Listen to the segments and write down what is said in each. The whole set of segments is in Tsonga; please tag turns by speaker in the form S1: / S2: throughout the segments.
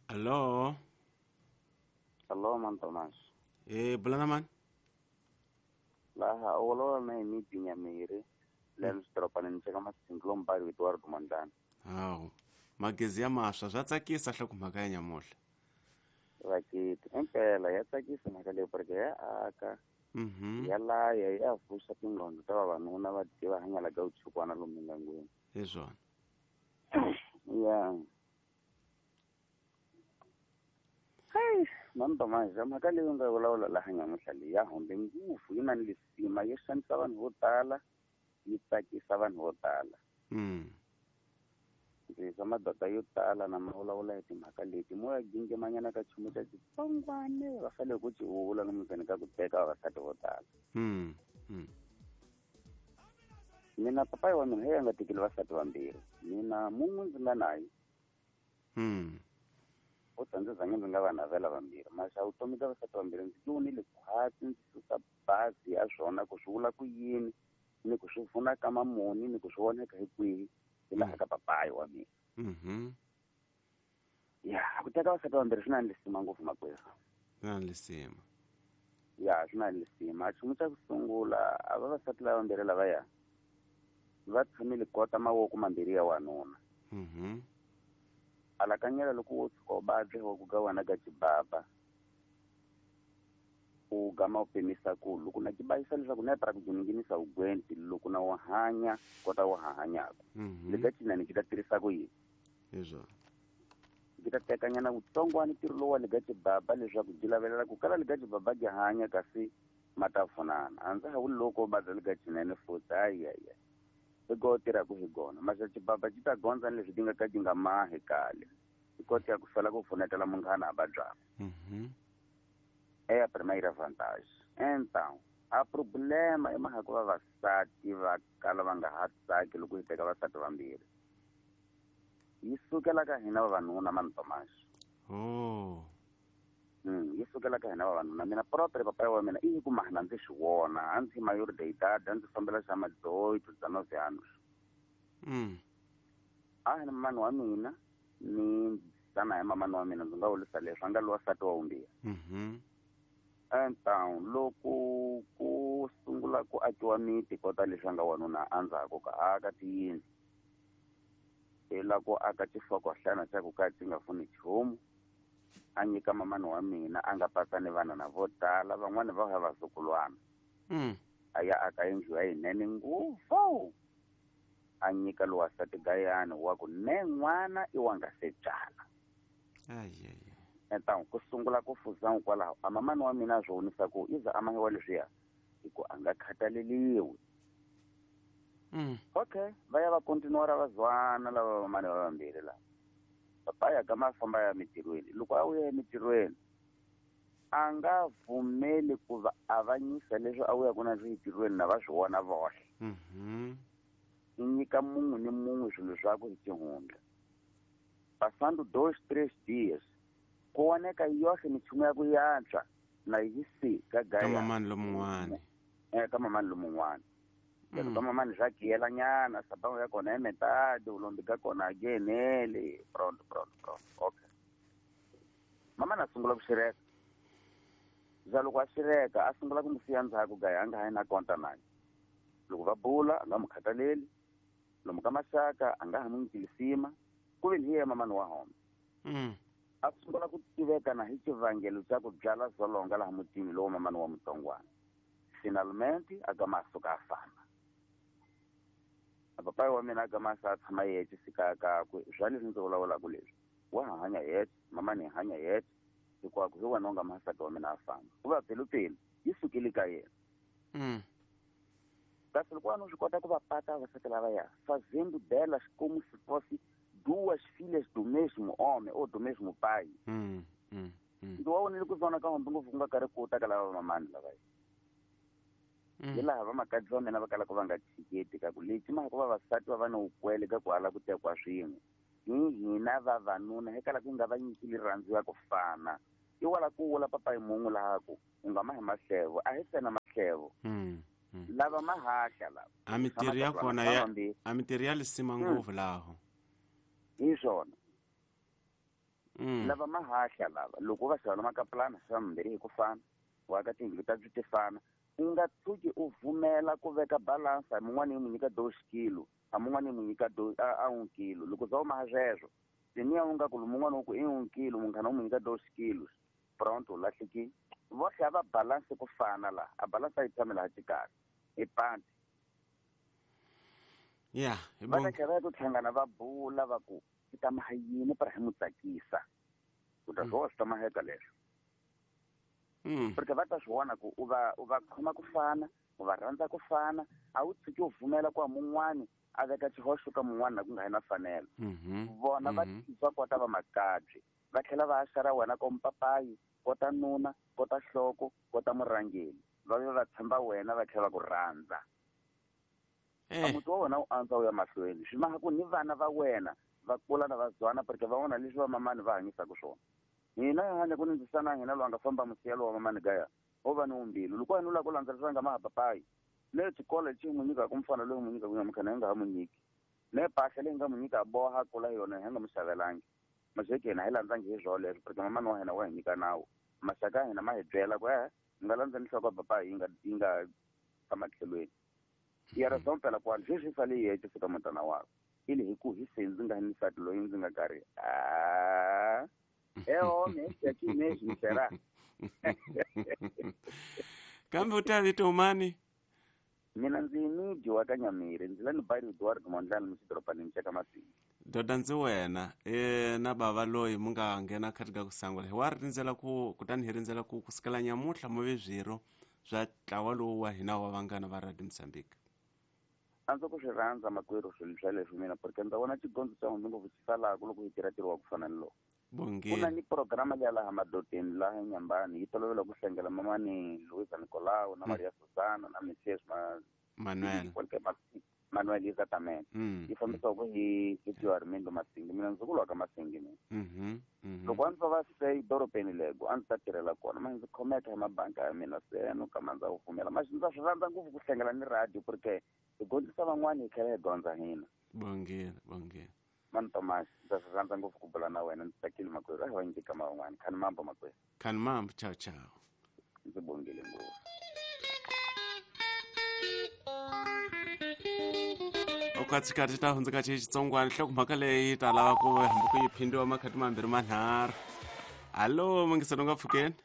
S1: Allo.
S2: Allo man Thomas.
S1: Eh bulana man.
S2: Laha olola na imi Binyamiri. Lens dropaneni cheka masinglo mbali Eduardo Mandana.
S1: Hawu. Magezi ya maswa swa tsakisa hle ku mhaka ya nyamuhla.
S2: Vakiti impela ya tsakisa mhaka leyi porque ya aka. Ya laya ya vuxa tingqondo ta vavanuna va tiva hanyala ka vuchukwana lomu mindyangwini.
S1: Hi swona.
S2: Ya. Hey, mamtamaza mhaka leyi nga vulavula laha nyamuhla leyi ya hombe ngopfu yi na ni lisima yi xanisa vanhu vo tala yi tsakisa vanhu vo tala. Ndzi madoda yo tala na ma vulavula hi timhaka leti mo ya gingemanyana ka nchumu xa xitsongwane va fanele ku xi vula lomu ka ku teka vavasati vo tala. Mina papayi wa mina hi nga tekeli vasati vambirhi mina mun'we ndzi nga naye. U ta ndzi zange ndzi nga va navela vambirhi maxa vutomi bya vasati vambirhi ndzi vonile khwatsi ndzi susa bazi ya swona ku swi vula ku yini ni ku swi pfuna ka mamuni ni ku swi voneka hi kwihi hi laha ka papayi wa mina. Ya ku teka vasati vambirhi swi na lisima ngopfu makwerhu.
S1: Swi na lisima.
S2: Ya swi na lisima. Nchumu xa ku sungula a vavasati lava vambirhi lavaya va tshamile kota mavoko mambirhi ya wanuna. Alakanyela loko wo tshuka u vabya wa ku ga wena ka xibaba u gama u pimisa ku loko na xibayisa leswaku na para ku nghenisa ugwenti loko na wa hanya kota wa hanyaka le ka cinani ki ta tirhisa ku yini
S1: hi swona
S2: ki ta tekanyana vutsongwana ntirho lowu wa le ka xibaba leswaku byi lavelela ku kala le ka xibaba byi hanya kasi ma ta pfunana a ndza ha vuli loko u vabya le ka cinene futhi hayi hi go tirhaka hi gona maxa xibaba xi ta gondza ni leswi ti nga ka ti nga mahi kale hi kota ya ku sala ku pfunetela munghana a vabyaka. É a primeira vantagem. Então, a problema i mhaka ku vavasati va kala va nga ha tsaki loko hi teka vasati vambirhi. Yi sukela ka hina vavanuna mani Thomas.
S1: Oh.
S2: Yi sukela ka hina vavanuna. Mina propre papayi wa mina i ku mahana ndzi swi vona a ndzi maior de idade a ndzi fambela xa ma-18 19 anos. A hi na mamani wa mina ni tsana hi mamani wa mina ndzi nga vurisa leswi a nga lowa nsati wa vumbirhi. Então loko ku sungula ku akiwa miti kota leswi a nga wanuna endzhaku ka aka tiyindlu hi la ku aka xihlokohlana xa ku ka xi nga pfuni nchumu a nyika mamani wa mina a nga patsa ni vana na vo tala van'wani va va vazukulwana. A ya aka yindlu ya yinene ngopfu a nyika lowa nsati gayani wa ku ne n'wana i wa nga se byala. Então ku sungula ku fuza kwalaho a mamani wa mina swi vonisa ku i za a mahiwa leswiya hi ku a nga khathaleliwi. Okay va ya va continuara va zwana lava vamani va vambirhi lava. Papa ya gama a famba ya mitirhweni loko a vuya emitirhweni a nga pfumeli ku va avanyisa leswi a vuyaku na swi entirhweni na va swi vona voxe. I nyika mun'we ni mun'we swilo swakwe hi xihundla. Passando 2, 3 dias ku voneka yoxe minchumu ya ku yantswa na yi si ka gaya.
S1: Ka mamani lomun'wana.
S2: Ka mamani lomun'wana. Ka mamani swa giyelanyana sababu ya kona i metade vulombi ka kona a gheneli pronto pronto pronto. Okay. Mamani a sungula ku xireka. Za loko a xireka a sungula ku n'wi siya ndzhaku gaya a nga ha yi na konta naye. Loko va bula a nga n'wi khathaleli. Lomu ka maxaka a nga ha n'wi nyiki lisima. Ku ve ni hi yena mamani wa home. A sungula ku tiveka na hi xivangelo xa ku byala zolonga laha mutini lowu mamani wa mutsongwana. Finalmente a gama a suka a famba. A papayi wa mina a gama a sa tshama yexe fika kakwe swa leswi ndzi vulavulaka leswi wa ha hanya yexe mamani hi hanya yexe hinkwako hi wena u nga masati wa mina a famba. Ku va pelupelu yi sukile ka yena. Kasi loko wena u swi kota ku va pata vavasati lavaya fazendo delas como se fosse duas filhas do mesmo homem ou do mesmo pai. Ndzi wa vonile ku zona ka hombe ngopfu ku nga karhi ku ta ka lava mamani lavaya. Hi laha vamakadzi va mina va kalaka va nga tshiketi ka ku lexi mhaka vavasati va va ni vukwele ka ku ala ku tekiwa swin'we. Hi hina vavanuna hi kalaka ku nga va nyiki rirhandzu ya ku fana. I wala ku vula papayi mun'we laha ku u nga mahi mahlevo a hi tsena mahlevo. Lava mahahla lava.
S1: A mintirho ya kona ya a mintirho ya lisima ngopfu laho.
S2: Hi swona. Lava mahahla lava loko va xava makapulana xava mambirhi hi ku fana wa ka tiyindlu ta byi ti fana u nga tshuki u vumela ku veka balance a mun'wana yi n'wi nyika 2 kilo a mun'wana yi n'wi nyika a 1 kilo loko za u maha sweswo tiniya u nga ku mun'wana u ku i 1 kilo munghana u n'wi nyika 2 kilo pronto u lahlekile vohle a va balance ku fana laha a balance a yi tshame laha xikarhi i panti
S1: ya
S2: va ta tlhela va ya ku hlangana va bula va ku i ta maha yini para hi n'wi tsakisa u ta swi swi ta maheka leswo porque va ta swi vona ku u va khoma ku fana u va rhandza ku fana a wu tshuki u vumela ku mun'wani a veka xihoxo ka mun'wana na ku nga hi na fanelo vona va va kota va makabye va tlhela va xara wena ko mpapayi kota nuna kota hloko kota murhangeri va ve va tshemba wena va tlhela va ku rhandza a muti wa wena u antswa u ya mahlweni swi maha ku ni vana va wena va kula na va zwana porque va vona leswi va mamani va hanyisaka swona hina hi hanya ku ni ndzisana hina loyi a nga famba musiyelo wa mamani gaya o va ni umbilu loko wena u lava ku landzelerisa nga maha papayi le xikolo lexi n'wi nyikaka mfana loyi n'wi nyikaka nyamukhana hi nga ha n'wi nyiki le mpahla leyi nga n'wi nyika boha kula yona hi nga n'wi xavelangi mazeke hina hi landzangi hi swona leswo porque mamani wa hina wa hi nyika nawu maxaka ya hina ma hi byela ku mi nga landza ni nhloko ya papayi yi nga tshama tlhelweni ya ra sompela kwani sweswi sale yi yexe fika mutana wakwe ili hi ku hi se ndzi nga ni nsati loyi ndzi nga karhi a eho mesera
S1: kambe u ta vito mani
S2: mina ndzi miji wa ka Nyamiri ndzi la ni bari Eduardo Mondlane muxidorobanini xa ka Masinga
S1: doda ndzi wena na bava loyi mu nga nghena khati ka ku sangula hi wa rindzela ku kutani hi rindzela ku kusukela nyamutlha mu ve swirho swa ntlawa lowu wa hina wa vanghana va Radio Mozambique
S2: a ndzi ku swi rhandza makwerhu swilo swa leswi mina porque ndza vona xigondzo xa n'wina ngopfu xi salaka loko hi tirha ntirho wa ku fana ni lowu ku na ni programa liya laha madodeni laha Nyambani yi tolovela ku hlengela mamani Luisa Nicolau na Maria Susana na Mrs
S1: Manuel
S2: Manuel exactamente yi fambisiwaka hi Tio Armindo Masingi mina ndzi ku lwa ka Masingi mina loko a ndzi va se dorobeni lego a ndzi ta tirhela kona ma ndzi khomeka hi mabanka ya mina se no kama ndza wu pfumela ma ndza swi rhandza ngopfu ku hlengela ni radio porque hi gondzisa van'wani hi tlhela hi gondza hina
S1: bongile bongile
S2: mani Thomas ndza swi rhandza ngopfu ku bula na wena ndzi tsakile makwerhu a hi va nyika man'wani khani mambo makwerhu
S1: khani mambo chao chao
S2: ndzi bongile ngopfu
S1: okatsikati ta hundzuka xitsongwana nhlokomhaka leyi ta lava ku hambi ku yi phindiwa makhati mambirhi manharhu hallo mungiselo nga pfukeni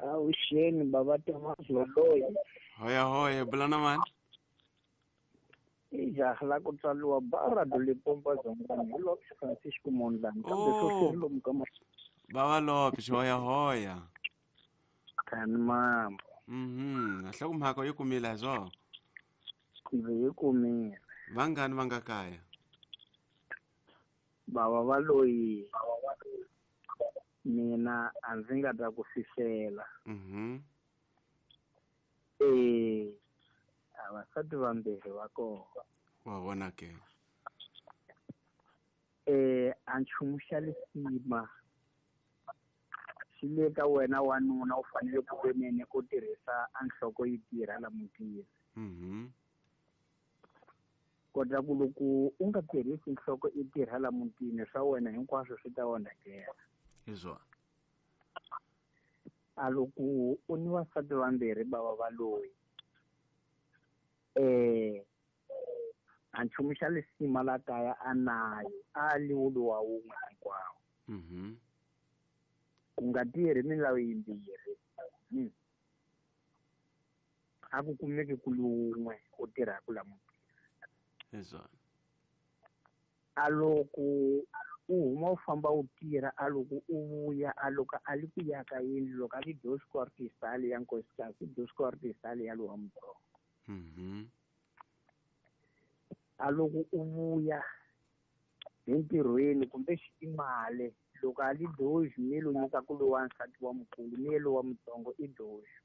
S3: avuxeni baba Thomas Valoyi
S1: hoya hoya bula na mani
S3: i jaha la ku tswariwa Barado Limpopo Dzongani hi Lopes Francisco Mondlane kambe sweswi ri lomu ka
S1: bava Lopes hoya hoya
S3: khani mambo
S1: nhlokomhaka yi kumile hi swona
S3: ndzi yi kumile
S1: vangani va nga kaya
S3: bava Valoyi mina a ndzi nga ta ku fihlela a vasati vambirhi va kona
S1: wa vona ke
S3: a nchumu xa lisima xi le ka wena wanuna u fanele ku venene ku tirhisa a nhloko yi tirha la mutini kota ku loko u nga tirhisi nhloko i tirha la mutini swa wena hinkwaswo swi ta onhakela
S1: hi swona
S3: a loko u ni vasati vambirhi bava Valoyi a nchumu xa lisima la kaya a nayo a liwulu wa wun'we hinkwawo ku nga tirhi milawu yimbirhi a ku kumeki ku wun'we u tirhaka la mutini
S1: hi swona
S3: a loko u huma u famba u tirha a loko u vuya a loko a li ku ya ka yindlu loko a li dos quartisali ya nkosikazi dos quartisali ya lowa mutsongo a loko u vuya hi ntirhweni kumbe xitimale loko a li doxi mi lo nyika ku lowa nsati wa mukulu mi lowa mutsongo i doxi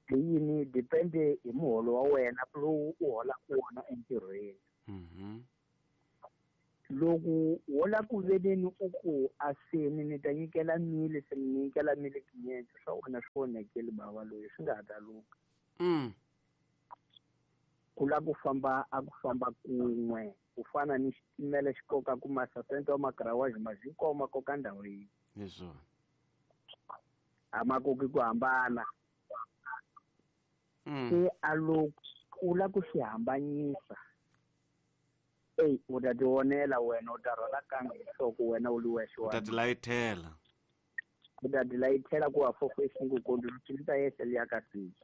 S3: yini depende hi muholo wa wena lowu u holaka wona entirhweni loko wo la ku veleni u ku a seni ni ta nyikela mili se ni nyikela mili tinyentse swa wena swi onhakeli bava Loyi swi nga ha ta lunga Ku la ku famba a ku famba kun'we ku fana ni xitimela xi koka ku masasente wa makarawaji ma hinkwawo ma koka ndhawu yin'we.
S1: Hi swona.
S3: A ma koki ku hambana. Se a loko u la ku swi hambanyisa, eyi u ta tionela wena, u ta rhwala kanga hi nhloko wena u li wexe.
S1: U ta tilayithela.
S3: U ta tilayithela ku wa fofo esingukondi lutshili ta yehle liya ka siji.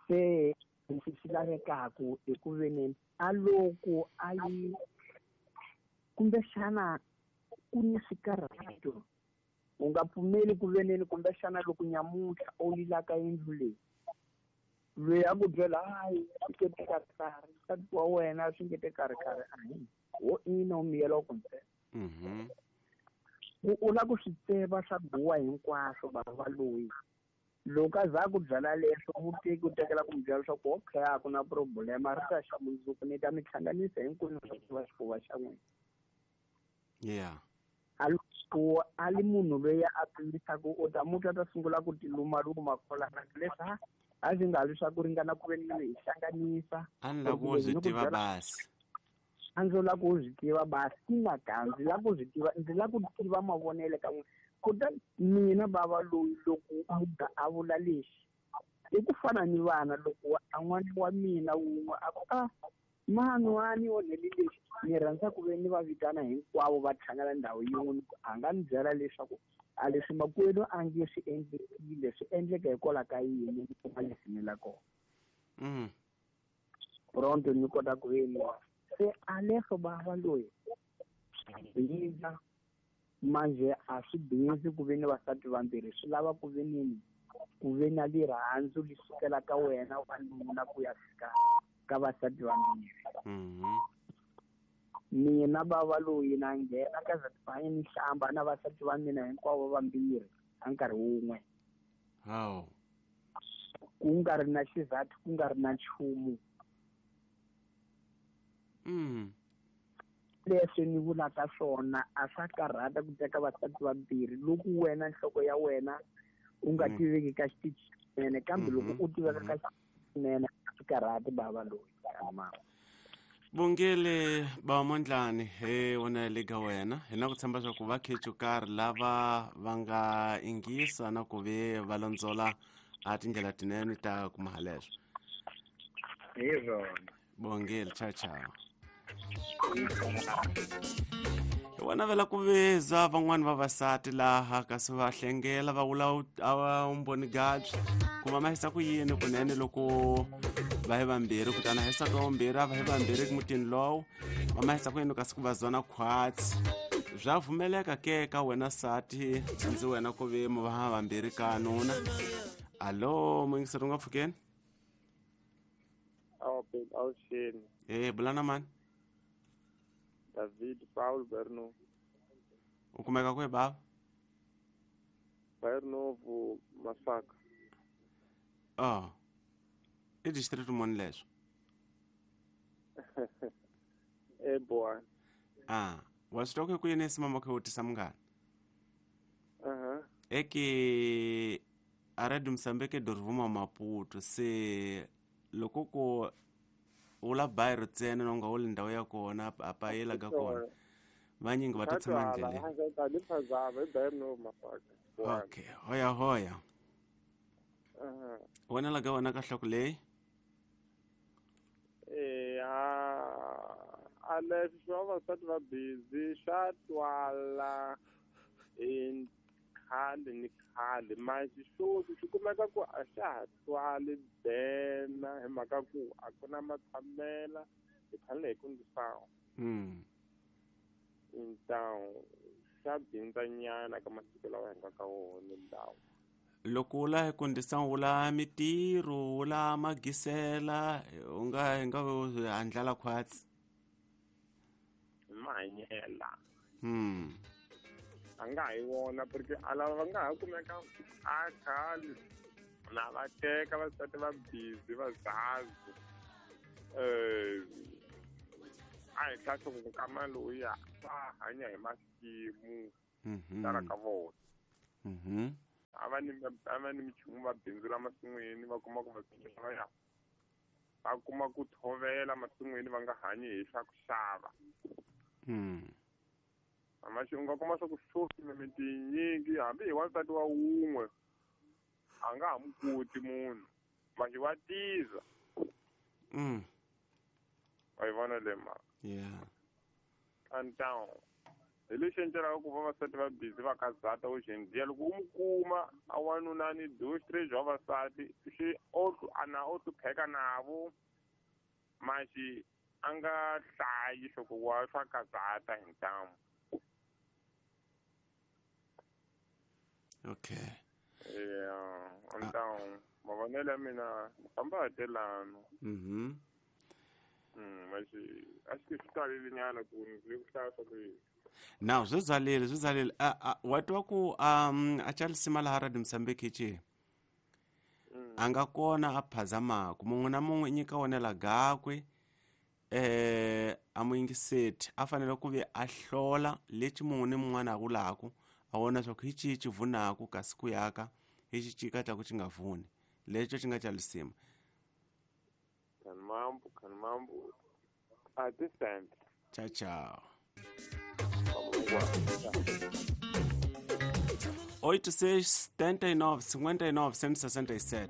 S3: Se lexi xi lavekaku i ku veni a loko a yi kumbexana ku ni swikarhato, u nga pfumeli ku veneni kumbexana loko nyamuntlha u lilaka yindlu leyi, loyi a ku byela hayi swi nge te karhi, nsati wa wena swi nge te karhi karhi, a hi wo ina u miyela ku ntsena. Ku u la ku swi tseva swa guwa hinkwaswo bava loyi. Loko a za ku byala leswo muteki u tekela ku mi byela leswaku okay a ku na problema, ri ta xa mundzuku ni ta mi hlanganisa hinkwenu swa ku va xifuva xa n'wina.
S1: Yeah.
S3: A loko a li munhu loyi a pimisaka u ta mutwa ta sungula ku tilumaluma kwalana leswi a swi nga leswaku ringana ku ve ni hi hlanganisa.
S1: A ni la ku swi tiva basi.
S3: A ndzi la ku swi tiva basi ina ka ndzi la ku swi tiva, ndzi la ku tiva mavonelo ka n'wina. Kutani mina bava loyi loko muga a vula lexi i ku fana ni vana, loko a n'wana wa mina wun'we a ku a mani wa ni onheli lexi, ni rhandza ku ve ni va vitana hinkwavo va hlangana ndhawu yin'we, a nga ni byela leswaku a leswi makwenu a nge swi endlekile swi endleka hikwalaho ka yini, ni kuma leswi ni la kona. Pronto ni kota ku veni se a leswo bava loyi bindza manje a swi bindzi ku ve ni vasati vambirhi, swi lava ku ve nini ku ve na lirhandzu li sukela ka wena wanuna ku ya fika ka vasati vambirhi. Mina bava loyi na nghena ka zatibanye ni hlamba na vasati va mina hinkwavo vambirhi a nkarhi wun'we.
S1: Hawu.
S3: Ku nga ri na xizathu, ku nga ri na nchumu. Leswi ni vulaka swona a swa karhata ku teka vasati vambirhi loko wena nhloko ya wena u nga tiveki ka xitichi xinene, kambe loko u tiveka ka xinene a swi karhati bava loyi.
S1: Bongile ba Mondlane he wona le ka wena hi na ku tshemba swa ku va khetxo karhi lava va nga ingisa na ku ve va londzola a tindlela tinene ta ku maha leswo.
S3: Hi swona.
S1: Bongile, ciao ciao. Hi vona vela ku veza van'wani vavasati laha kasi va hlengela va vula a umboni gabyi ku va mahisa ku yini kunene loko va hi vambirhi, kutani hisa ka vumbirhi a va hi vambirhi mutini lowu va mahisa ku yini kasi ku va zona khwatsi. Bya vumeleka ke ka wena sati ndzi wena ku ve mu va vambirhi ka nuna. Alo muyingiseri u nga pfukeni?
S4: Awuxeni.
S1: Bulana mani?
S4: David Paul Berno.
S1: U kumeka kwihi bava?
S4: Berno Masaka.
S1: Oh. I district muni leswo?
S4: Eboa.
S1: Ah, wa swi twa ku yini simama khe u tisa munghana? Eke a Radio Mozambique dorvuma Maputo se loko ku ula bairro ntsena no nga uli ndhawu ya kona a payela ka kona vanyingi va ta tshama ndleleni. Okay, hoya hoya. Wena la ka wena ka hloko leyi?
S4: A leswi swa vavasati va busy swa twala hi khale ni khale, manje sweswi swi kumeka ku a xa ha twali bena hi mhaka ku a ku na matshamela hi fanele hi kundisawa. Ntawu swa bindzanyana ka masiku lawa hi nga ka wona ndhawu.
S1: Loko u la kundisa u la mitirho u la magisela u nga nga andlala khwatsi
S4: mahanyela. A nga hi wona porque a lava va nga ha kumeka a khale na va teka vasati va busy va zazi. A hi tlhahla ku nkama lowuya va hanya hi masimu tala ka vona. A va ni michumu va bindzula masin'wini va kuma ku va ya. Va kuma ku tshovela masin'wini va nga hanyi hi swa ku xava. Amaxi u nga kuma swa ku sweswi mimiti yinyingi hambi hi wansati wa wun'we a nga ha mu koti munhu maxi wa tiza. Wa yi vona le mhaka?
S1: Yeah.
S4: Então hi lexi endlelaka ku vavasati va busy va kazata hoje em dia loko u mu kuma a wanuna ni dos três vavasati xi o ana o hlupheka navo maxi a nga hlayi swa ku wa swa kazata hi ntamu.
S1: Okay.
S4: Yeah, então mavonelo ya mina famba hi telano. Maxi a xi swi talele nyana ku ni ku hlaya swa ku
S1: Now swi zalile wa twa ku a Charles laha Radio Mozambique ci a nga kona a phazamaku mun'we na mun'we nyika wonela gakwe a muyingiseti a fanele ku ve a hlola lexi mun'we ni mun'wana a vulaku a vona swa ku hi cihi ci vunaku kasi ku yaka hi xi ci ka ku xi nga vuni lexo xi nga xa lisima.
S4: Kanmambu kanmambu até sempre.
S1: Tchau, tchau. 86 79 59 167.